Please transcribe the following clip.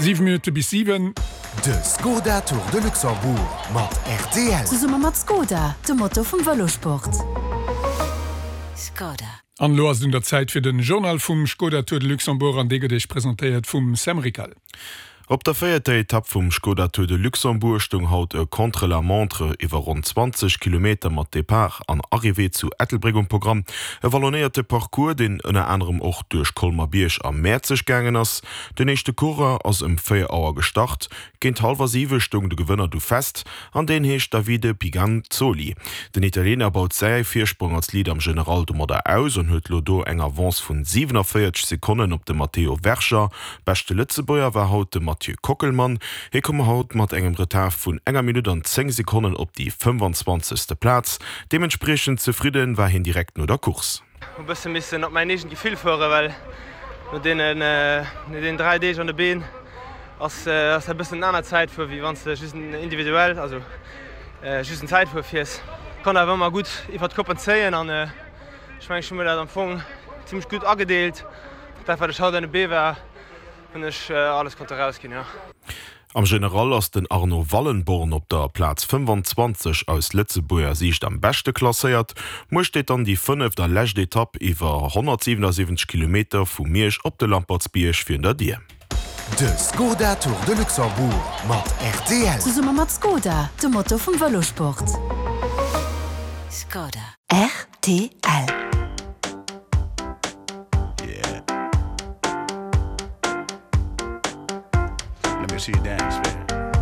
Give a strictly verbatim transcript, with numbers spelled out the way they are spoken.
Siwe Minutte bis siwen. De Skoda Tour de Luxembourg mat rtl. Zesumme mat Skoda, dem Motor vum Vëlosport. Skoda. An elo ass et un der Zäit fir den Journal vum Skoda Tour de Luxembourg an dee gëtt Iech presentéiert vum Sam Rickal. Op der véierter Etapp vum Skoda Tour de Luxembourg stoung haut e Contre-la-montre iwwer ronn zwanzeg Kilometer mat Depart an Arrivée zu Ettelbréck um Programm. E wallonéierte Parcours, deen ënner anerem och duerch Colmer-Bierg a Mäerzeg gaangen ass. Den éischte Coureur ass ëm véier Auer gestart. Géint hallwer siwe stoung de Gewënner du fest an deen heescht Davide Piganzoli. Den Italiener baut säi Virsprong als Leader am General domadder aus an huet lo do eng Avance vun siwenavéierzeg Sekonnen op de Matteo Verger. Beschte Lëtzebuerger war haut de Mathieu Kockelmann. Hie koum haut mat engem Retard vun enger Minutt an zéng Sekonnen op déi fëmfanzwanzegste Plaz. Deementspriechend zefridde war hien direkt no der Course. Hu bësse missen op mäin eegent Gefill fueren, well no deenen no deenen dräi Deeg an de Been ass ass dat bëssen en anert Zäitfuer wéi wann s de just en individuell, also just en Zäitfuer fiers. Konnt awer ëmmer gutt iwwer d'Koppen zéien an ech mengen ech hu mir dat am Fong zimmlech gutt agedeelt. Dat wat ech haut an de Bee war, hunn ech alles konnte rausginn, jo. Am General ass den Arno Wallenborn op der Plaz fëmfanzwanzeg aus Lëtzebuerger Siicht am beschte klasséiert. Muer steet dann déi fënneft a lescht Etapp iwwer honnertsiwenassiwwenzeg Kilometer vu Miersch op de Lampertsbierg virun der Dier. De Skoda Tour de Luxembourg mat rtl. Zesumme mat Skoda, dem Motor vum Vëlosport. Skoda. Rtl. Yeah. Let me see you dance, baby.